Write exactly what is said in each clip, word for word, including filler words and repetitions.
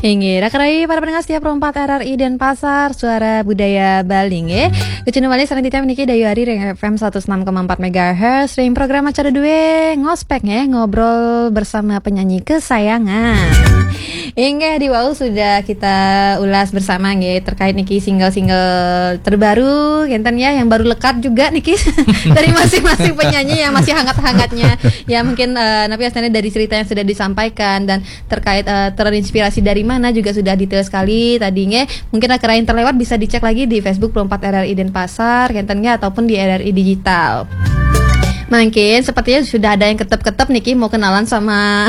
Inggih, raka rayi para pendengar setia Pro empat R R I Denpasar, Suara Budaya Bali, nggih. Kacunduk malih sareng titiang niki Dayu Ari ring F M seratus enam koma empat megahertz, ring program acara due Ngospek, nggih, ngobrol bersama penyanyi kesayangan. Inggih, di wau sudah kita ulas bersama, nggih, terkait niki single-single terbaru, ngenten ya, yang baru lekat juga niki dari masing-masing penyanyi yang masih hangat-hangatnya. Ya, mungkin, eh, napi wastane dari cerita yang sudah disampaikan dan terkait, eh, terinspirasi dari mana juga sudah detail sekali tadi, nggih. Mungkin raka rayi terlewat bisa dicek lagi di Facebook Pro empat R R I Denpasar, ngenten nggih, ataupun di R R I Digital. Mungkin sepertinya sudah ada yang ketep-ketep niki mau kenalan sama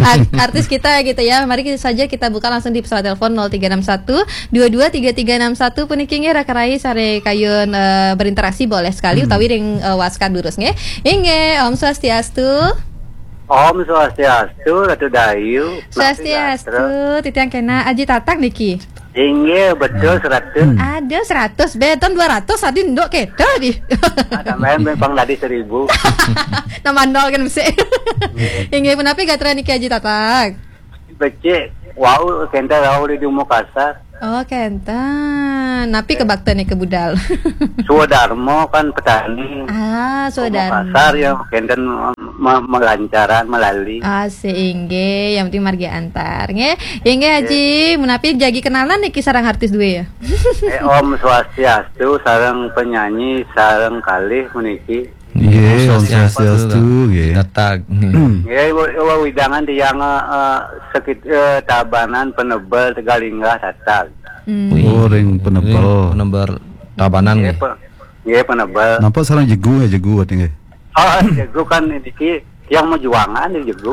art- artis kita gitu ya. Mari kita saja kita buka langsung di pesawat telepon nol tiga enam satu dua dua tiga tiga enam satu puniki nggih raka rayi sare kayun, eh, berinteraksi boleh sekali utawi ring, eh, WhatsApp durus nggih. Inggih, Om Swastiastu. Om Swastiastu, Ratu Dayu. Swastiastu, titiang kena Aji Tatang niki. Inggih, betul seratus. Ada seratus, beton dua ratus tadi nduk kita di. Ada main bang tadi seribu. Nama nol kan mesti. Inggih, punapi gatra niki Aji Tatang? Becik, wau kenten wau di Dumo Kasar. Oh, kenten. Napi kebakta niki budal? Swadarma kan petani. Ah, Dumo Swadarma. Kasar ya kenten me- melancaran melali. Ah, seinggih, yang penting margi antar, nggih. Inggih, Haji, menapi jagi kenalan niki sareng artis due ya? Eh, Om Swastiastu, sareng penyanyi, sareng kalih puniki. Nggih, Om Swastiastu, Swastiastu, nggih. Tatag. Nggih, wa- wa- widangan tiang, eh, eh, sekit eh, Tabanan Penebel Tegalinggah Tatag. Hmm. Oh, ring Penebel. Ring Penebel Tabanan nggih. Pe- nggih, Penebel. Napa sareng Jegu ya, Jegu ati nggih? Oh, Jegu kan niki yang mejuangan di Jegu.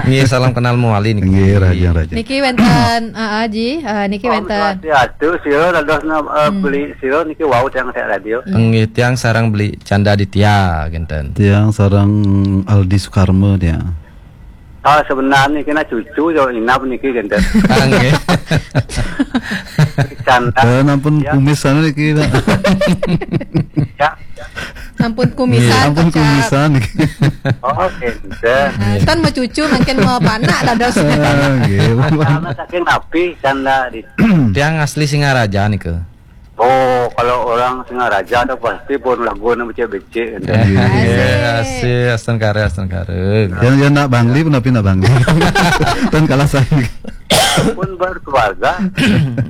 Nggih, salam kenal mawali niki. Nggih, raja, raja. Niki wenten, ah, ah, Ji, ah, niki Om wenten. Swastiastu, sira dados na- eh, Hmm. beli sira niki wau tiang tek radio. Nggih, tiang sareng beli Canda Ditya, kenten. Tiang sareng Aldi Sukarma tiang. Ah, sebenarnya kena cucu yo inap niki kenten. Ah, nggih. Canda. Eh, nampun Ya. Kumis sana niki, Pak. Ya. Ampun kumisan, Ampun kocap. Kumisan niki. Oh, kenten. Ah, tan mau cucu makin mau panak dados. Ah, nggih. Karena saking napi Canda di Tiang asli Singaraja nika. Oh, kalau orang Singaraja tuh pasti pun lagu nu becik-becik gitu. Nggih, asih, astungkara, astungkara. Yang, yang nak Bangli pun tapi nak Bangli. Tan kalah saya. Pun berkeluarga.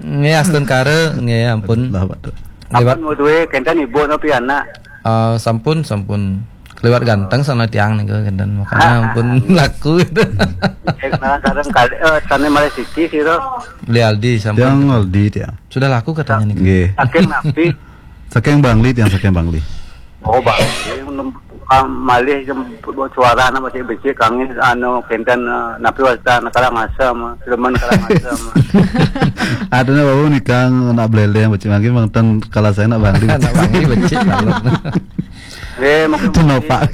Nggih, astungkara, nggih, ampun. Lah, Pak. Lewat Ampun mau duwe kenten ibu nopi anak. Eh, sampun, sampun. Lewat ganteng sana tiang nika kenten makanya ampun laku gitu. Eh, kenalan sareng kali eh sana malah siki sira. Beli Aldi sampun. Tiang Aldi tiang. Sudah laku katanya nih. Nggih. Saking napi? Saking Bangli tiang saking Bangli. Oh, Bangli. Malih jem- suara anak masih becik kangin anu kenten eh, napi wasta anak Karangasem, Sleman Karangasem. Adanya bau nikang anak beleleng becik mangkin mang tan kalah saya anak Bangli. Anak Bangli becik kalau. Nggih, mungkin Itu nopak.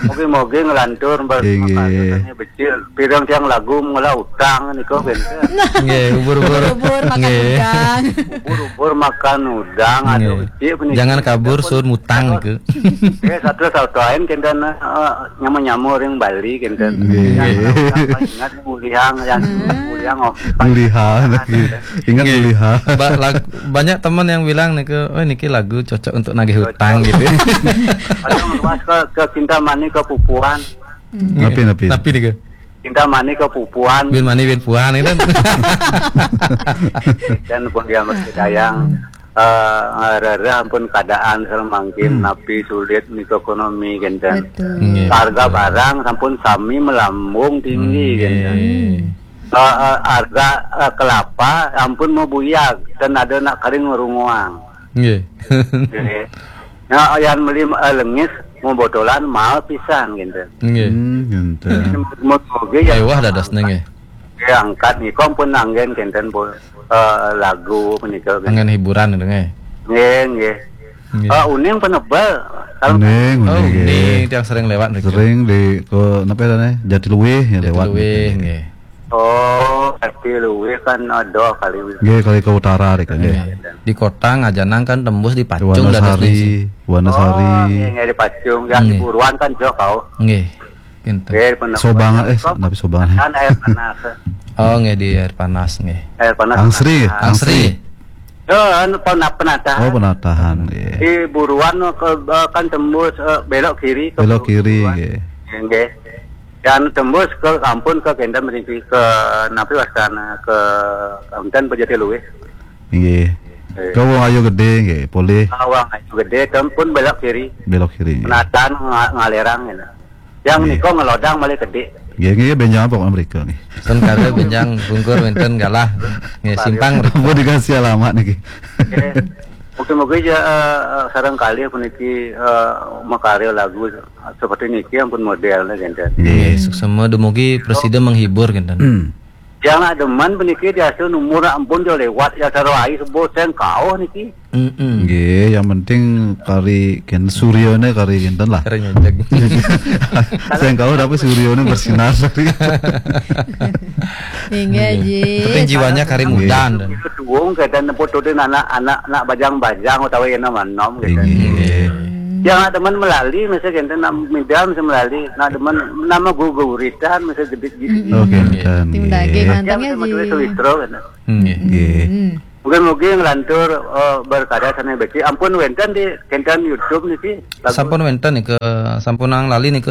Mungkin mungkin ngelantur mbak Inggih. Makanya becik. Pirang tiang lagu mengolah utang niku kenten. Nggih, ubur-ubur. Ubur-ubur makan Nggih. Udang. Ubur-ubur makan udang, aduh, Nggih. Becik punika. Jangan kabur, sun mutang niku. Nggih, satu satu lain kenten eh, nyama-nyama ring Bali kenten. Nggih. Yang orang ingat mulihang yang mulihang oh. Mulihang, nggih. Ingat Nggih. Mulihang. Ba- lag- banyak teman yang bilang niku, "Oh, niki lagu cocok untuk nagih utang," gitu. Atau ngeluas ke, ke Cinta Mani ke Pupuan. Napi, napi? Napi niku? Cinta Mani ke Pupuan. Bin Mani bin Puan itu. Dan pun dia mesti dayang eh rereh ampun keadaan sareng mangkin napi sulit nika ekonomi kenten. Betul. Nggih, harga betul. Barang sampun sami melambung tinggi kenten. Nggih. Eh, eh, harga eh, kelapa ampun mebuyag dan ada nak kering ngerunguang. Nggih. Nggih. Nah, yang beli eh, lengis membotolan mahal pisan kenten. Nggih. Hmm, kenten. Moga ya. Mewah dadosnya nggih. Nggih, angkat nika pun anggen kenten bo- eh, lagu menika. Anggen hiburan itu nggih. Nggih, nggih. Nggih. Eh, uning Penebel. Kalau Uning, Oh, uning, ini nggih. Tiang sering lewat niku. Sering di ke napa ya, Jatiluwih ya lewat. Jatiluwih nggih. Oh, Jatiluwih kan ada kali. Nggih, kali ke utara nika nggih. Nggih. Di kota Ngajanang kan tembus di Pacung dados Wonosari, nih. Wonosari. Oh, nggih, nggih, di Pacung. Yang di Nggih. Buruan kan jauh kau. Nggih. Kinten. Sobang, eh, tapi Sobang. Kan air panas. Oh, nggih, di air panas, nggih. Air panas. Angsri, Angsri. Angsri. Oh, anu, pena-, penatahan. Oh, penatahan, nggih. Di Buruan ke, eh, kan tembus, eh, belok kiri ke Belok kiri, Buruan. Nggih. Nggih. Dan tembus ke, ampun, ke Kenten mriki, ke napi wastane, ke Kenten Pejati Luwih. Nggih. Eh. Ke Wong Ayu Gede, nggih, polih. Ah, Wong Ayu Gede, ampun belok kiri. Belok kiri, nggih. Penatahan nga-, ngalerang, gitu. Yang Nggih. Niko ngelodang malah gede. Nggih, nggih, benjang apa Amerika, nggih? Ten kare benjang bungkur wenten galah. Nggih, simpang. Apa dikasih alamat niki? Nggih. Mungkin-mungkin ya, eh, eh, sareng kalih puniki, eh, makarya lagu seperti niki ampun modelnya, gitu. Nggih. Nggih, suksema dumugi presida menghibur, gitu. Hmm. Yang nak demen puniki diastu umur ampun jo lewat ya, sarwa ai sebut sing kauh niki. Mm-mm. Nggih, yang penting kari ken-, suryane kari kinten lah. Kari ngejek. Sing kauh tapi suryane bersinar. Inggih, Nggih. Ji. Penting jiwanya kari Nggih. Muda. Duung keten neput tudin anak-anak nak bajang-bajang utawi yen nom-nom gitu. Inggih. Yang nak demen melali mesti kenten nak midam mesti melali. Nak demen nama guguritan mesti gedit gitu. Mm-mm. Oke, Nggih. Kenten. Tim daging Nggih. Yang mantengnya, mesti menulis Ji. Suwitro, gitu. Nggih. Nggih. Mm-mm. Mungkin-mungkin ngelantur, eh, berkarya sana beci. Ampun wenten di kenten YouTube niki. Lagu Sampun wenten niki, sampun ang lali niki,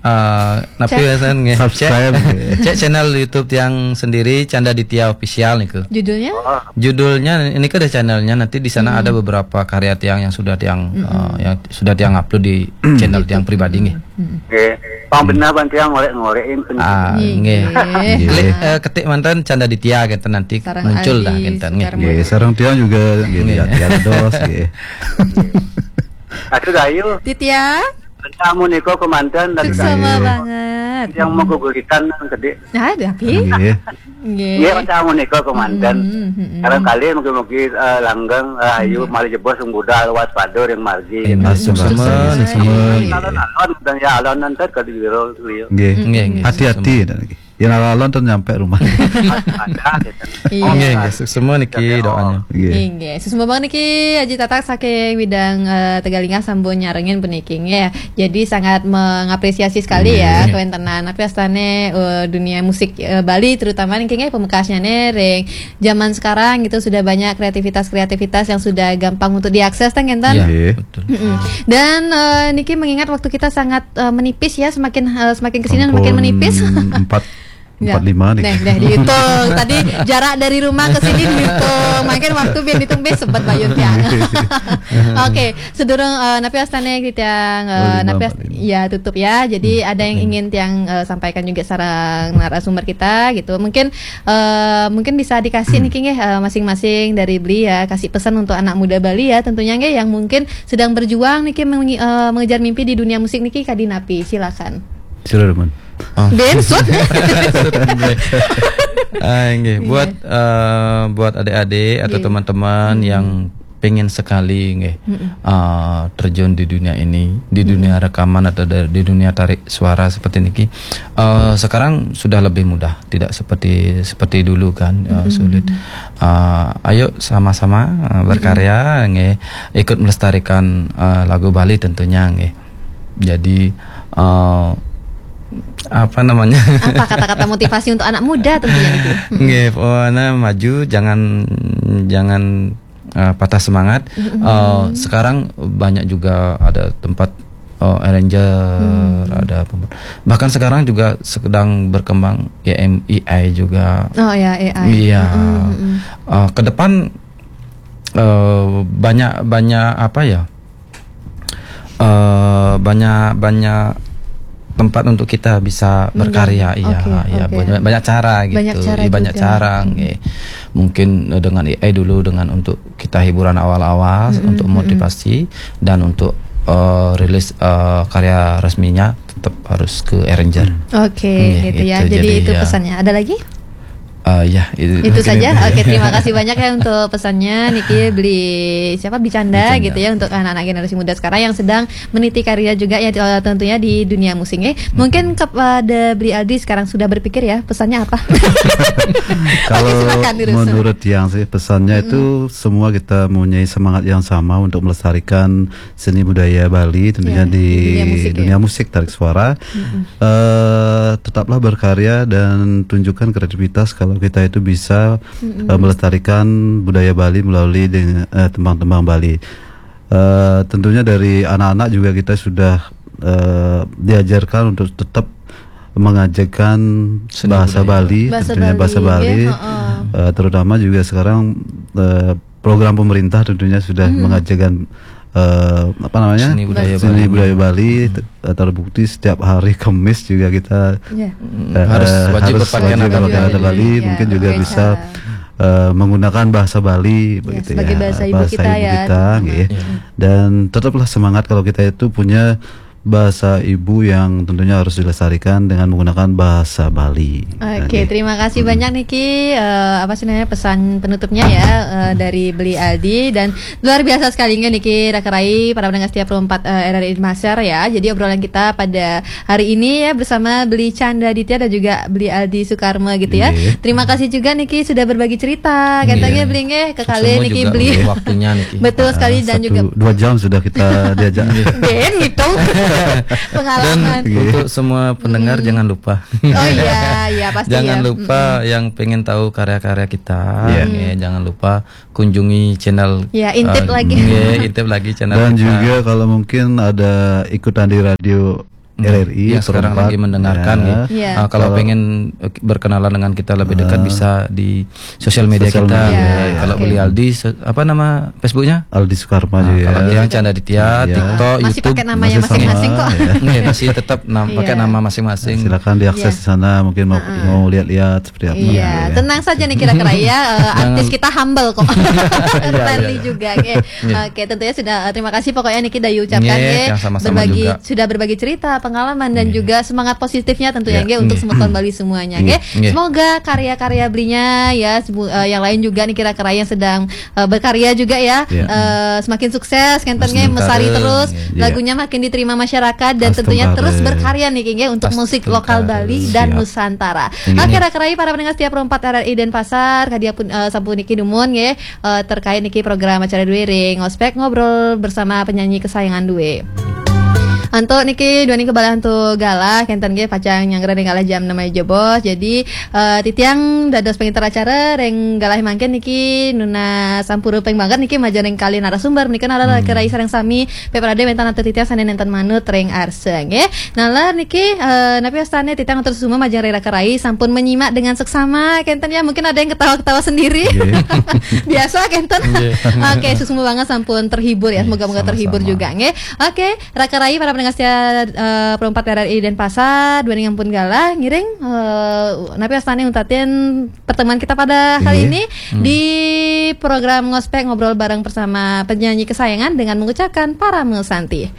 eh, napi Cek. Wesen nggih. Subscribe. Cek, cek channel YouTube tiang sendiri, Canda Ditya Official niki. Judulnya? Oh. Judulnya ini ada channelnya, nanti di sana Hmm. ada beberapa karya tiang yang sudah tiang, Mm-mm. eh, yang sudah tiang upload di channel YouTube. Tiang pribadi nggih. Mm-mm. Nggih. Pang benar ban tiang ngorek-ngorekin pen- Ah, Nggih, nggih. Nggih. Klik, eh, ketik manten Canda Ditya gitu nanti Sarang muncul dah Adi gitu nggih. Sukarman. Nggih, sarang tiang juga nggih, Nggih. Lihat, lihat dos nggih. Aduh, Dayu. Ditya? Kamu niko kemanten dan Suksema Dayu. Banget. Yang mau guguritan nang gede. Nah, tapi. Nggih. Nggih. Iya, kamu niko kemanten. Mm-mm, mm-mm. Sekarang kali mungkin-mungkin, eh, langgeng, eh, ayu, Nggih. Mari jebos budal waspada yang margi. Iya, Suksema, suksema, suksema. Nggih. Kalau nalon dan ya alon nanti ke di biro beliau. Nggih. Nggih, nggih. Hati-hati Suksema. Dan lagi. Yen alon ten nyampe rumah. Ada, gitu. Iya. Nggih, nggih, suksema niki doanya. Nggih. Inggih, suksema banget niki Aji Tatak saking Widang, eh, Tegalingah sampun nyarengin puniki nggih. Jadi sangat mengapresiasi sekali ya Nggih. Kewentenan. Tapi astane, eh, dunia musik, eh, Bali terutama niki nggih pemekasnya ring zaman sekarang gitu sudah banyak kreativitas-kreativitas yang sudah gampang untuk diakses, tang, Kenten? Iya, Nggih. Betul. Mm-mm. Dan, eh, niki mengingat waktu kita sangat, eh, menipis ya, semakin, eh, semakin kesini semakin Ampun, menipis. Empat, Nggak. Empat lima nih. Neh, neh, dihitung. Tadi jarak dari rumah ke sini dihitung. Makin waktu biar dihitung, bes, sebet bayun tiang. Oke, sedurung, eh, napi astane tiang, eh, Oh, lima, napi ast-, empat lima. Ya, tutup ya. Jadi Hmm, ada yang empat lima. Ingin tiang, eh, sampaikan juga sareng narasumber kita gitu. Mungkin, eh, mungkin bisa dikasih Hmm. niki nggih, eh, masing-masing dari beli ya, kasih pesan untuk anak muda Bali ya, tentunya nggih yang mungkin sedang berjuang niki mengi-, eh, mengejar mimpi di dunia musik niki kadi napi. Silakan. Sira, Ruman. Oh. Bensut. Ah, nggih. Iya. Buat, eh, buat adik-adik atau Nggih. Teman-teman Hmm. yang pengen sekali nggih, Mm-mm. eh, terjun di dunia ini, di Mm-mm. dunia rekaman atau da-, di dunia tarik suara seperti niki. Eh, sekarang sudah lebih mudah, tidak seperti, seperti dulu kan, eh, Mm-mm. sulit. Eh, ayo sama-sama, eh, Mm-mm. berkarya nggih, ikut melestarikan, eh, lagu Bali tentunya nggih. Jadi, eh, apa namanya? Apa kata-kata motivasi untuk anak muda tentunya niki? Mm-mm. Nggih, pokoknya maju, jangan, jangan, eh, patah semangat. Mm-mm. Eh, sekarang banyak juga ada tempat, eh, arranger, Hmm. ada pem-, bahkan sekarang juga sedang berkembang A M, A I juga. Oh ya, A I. Iya. Mm-mm, mm-mm. Eh, ke depan, eh, banyak, banyak apa ya? Eh, banyak, banyak tempat untuk kita bisa Iya. Berkarya, iya, Oke, iya, oke. Banyak, banyak cara gitu. Banyak cara Iya, banyak juga. Cara, Hmm. Nggih. Mungkin, eh, dengan A I dulu dengan untuk kita hiburan awal-awal, Mm-mm, untuk mm-mm. Motivasi dan untuk, eh, rilis, eh, karya resminya tetap harus ke arranger. Hmm. Oke, nggih, gitu ya. Gitu. Jadi jadi itu ya. Pesannya. Ada lagi? Ah, ya, itu, itu saja. Oke, terima kasih banyak ya untuk pesannya, Niki. Beli siapa, Bicanda, Bicanda gitu ya, untuk anak-anak generasi muda sekarang yang sedang meniti karir juga ya, eh, tentunya di dunia musik ya. Mungkin kepada Beli Aldi sekarang sudah berpikir ya, pesannya apa? Kalau menurut Yang sih, pesannya itu semua kita mempunyai semangat yang sama untuk melestarikan seni budaya Bali, tentunya di dunia musik, ya, dunia musik tarik suara. Eh, tetaplah berkarya dan tunjukkan kreativitas kalau kita itu bisa eh, melestarikan budaya Bali melalui dengan eh, tembang-tembang Bali. Eh, tentunya dari anak-anak juga kita sudah eh, diajarkan untuk tetap mengajarkan bahasa Bali, tentunya bahasa Bali, eh, terutama juga sekarang eh, program pemerintah tentunya sudah mengajarkan eh, apa namanya, seni budaya Bali. Te- eh, terbukti setiap hari Kamis juga kita eh, harus wajib berpakaian adat Bali. Mungkin juga bisa eh, menggunakan bahasa Bali begitu ya, sebagai bahasa ibu kita, nggih. Dan tetaplah semangat kalau kita itu punya bahasa ibu yang tentunya harus dilestarikan dengan menggunakan bahasa Bali. Oke, terima kasih banyak, Niki. Eh, apa sih namanya, pesan penutupnya ya eh, dari Beli Aldi, dan luar biasa sekali nggih, Niki, Raka Rai, para pendengar setia Pro empat eh, R R I Denpasar ya. Jadi obrolan kita pada hari ini ya bersama Beli Canda Ditya dan juga Beli Aldi Sukarma gitu ya. Terima kasih juga, Niki, sudah berbagi cerita. Katanya Beli nggih, kekali Niki, Beli. Waktunya, Niki. Betul sekali, dan juga dua jam sudah kita diajak. Den gitu. Pengalaman. Dan untuk semua pendengar, jangan lupa. Oh iya, iya, pasti. Jangan lupa yang pengen tahu karya-karya kita, ya, jangan lupa kunjungi channel, ya, intip eh, lagi. Nggih, intip lagi channel. Dan kita juga kalau mungkin ada ikutan di radio R R I yang sekarang lagi mendengarkan, ya. Ya. Ah, kalau pengen eh, berkenalan dengan kita lebih dekat, bisa di sosial media kita. Ya. Kalau Beli Aldi, apa nama Facebooknya? Aldi Sukarma juga. Kalau yang Canda Ditya, TikTok, YouTube. Masih pakai nama yang masing-masing kok. Nggih, masih tetap pakai nama masing-masing. Silakan diakses di sana, mungkin mau lihat-lihat seperti apa. Iya, tenang saja nih, kira-kira ya, eh, artis kita humble kok. Friendly juga, nggih. Oke, tentunya sudah eh, terima kasih pokoknya, Niki, dayu ucapkan, nggih, nggih, sama-sama berbagi juga. Sudah berbagi cerita, pengalaman, dan juga semangat positifnya tentunya, nggih, untuk semeton Bali semuanya, nggih. Semoga karya-karya Belinya ya, eh, yang lain juga nih, kira-kira yang sedang eh, berkarya juga ya, eh, semakin sukses, ngenten, nggih, mesari terus, lagunya makin diterima masyarakat, dan tentunya terus berkarya nih, nggih, untuk musik lokal Bali dan Nusantara. Oke, Raka Rai, para pendengar setia Pro empat R R I Denpasar, kadia pun eh, sampun niki dumun, nggih, eh, terkait niki program acara duwe ring Ngospek, ngobrol bersama penyanyi kesayangan duwe. Antuk niki duaning kebalah antuk galah, kenten nggih, pacang nyanggra ring galah jam enam aja, Bos. Jadi eh, titiang dados pengiter acara ring galah mangkin niki nunas sampun rupeng banget niki majeng ring kalih narasumber menika, nalar Raka Rai sareng sami, Pep Rade, wenten antuk titiang sane nenten manut ring arsa, nggih. Nalar niki eh, napi wastane titiang atur suksma majeng ring Raka Rai sampun menyimak dengan seksama, kenten ya, mungkin ada yang ketawa-ketawa sendiri. Biasa kenten. Oke, suksma banget sampun terhibur ya. Moga-moga terhibur juga, nggih. Oke, Raka Rai, para pendengar setia eh, Pro empat R R I Denpasar, duaning ampun galah ngiring eh, napi wastane untatin pertemuan kita pada kali ini di program Ngospek, ngobrol bareng bersama penyanyi kesayangan dengan mengucapkan Parama Santi.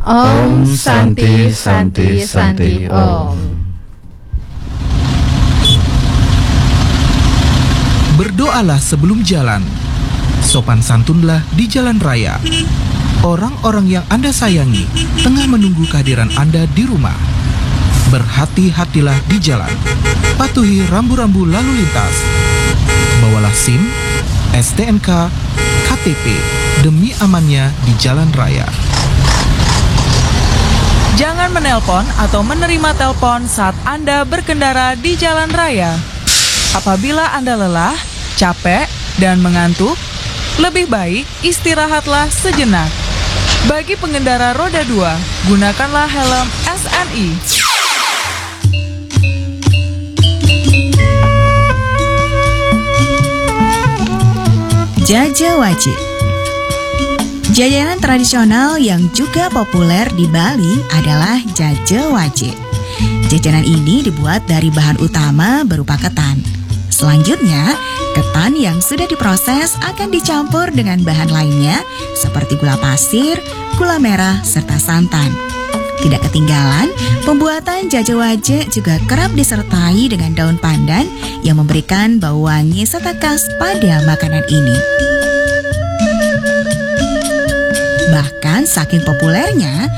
Om Santi, Santi, Santi, Om. Berdoalah sebelum jalan. Sopan santunlah di jalan raya. Orang-orang yang Anda sayangi tengah menunggu kehadiran Anda di rumah. Berhati-hatilah di jalan. Patuhi rambu-rambu lalu lintas. Bawalah SIM, STNK, KTP demi amannya di jalan raya. Jangan menelpon atau menerima telepon saat Anda berkendara di jalan raya. Apabila Anda lelah, capek, dan mengantuk, lebih baik istirahatlah sejenak. Bagi pengendara roda dua, gunakanlah helm SNI. Jaja wajik. Jajanan tradisional yang juga populer di Bali adalah jaja wajik. Jajanan ini dibuat dari bahan utama berupa ketan. Selanjutnya, ketan yang sudah diproses akan dicampur dengan bahan lainnya seperti gula pasir, gula merah, serta santan. Tidak ketinggalan, pembuatan jaje waje juga kerap disertai dengan daun pandan yang memberikan bau wangi serta khas pada makanan ini. Bahkan saking populernya,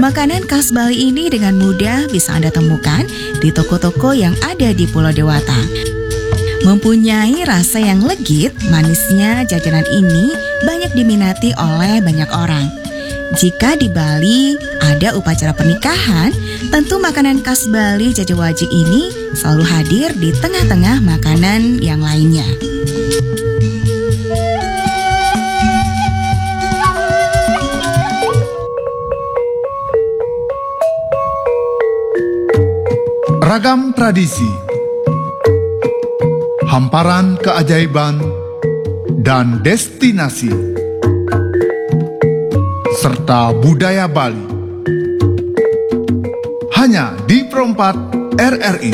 makanan khas Bali ini dengan mudah bisa Anda temukan di toko-toko yang ada di Pulau Dewata. Mempunyai rasa yang legit, manisnya jajanan ini banyak diminati oleh banyak orang. Jika di Bali ada upacara pernikahan, tentu makanan khas Bali jaje waje ini selalu hadir di tengah-tengah makanan yang lainnya. Ragam tradisi, hamparan keajaiban, dan destinasi, serta budaya Bali. Hanya di Pro empat R R I.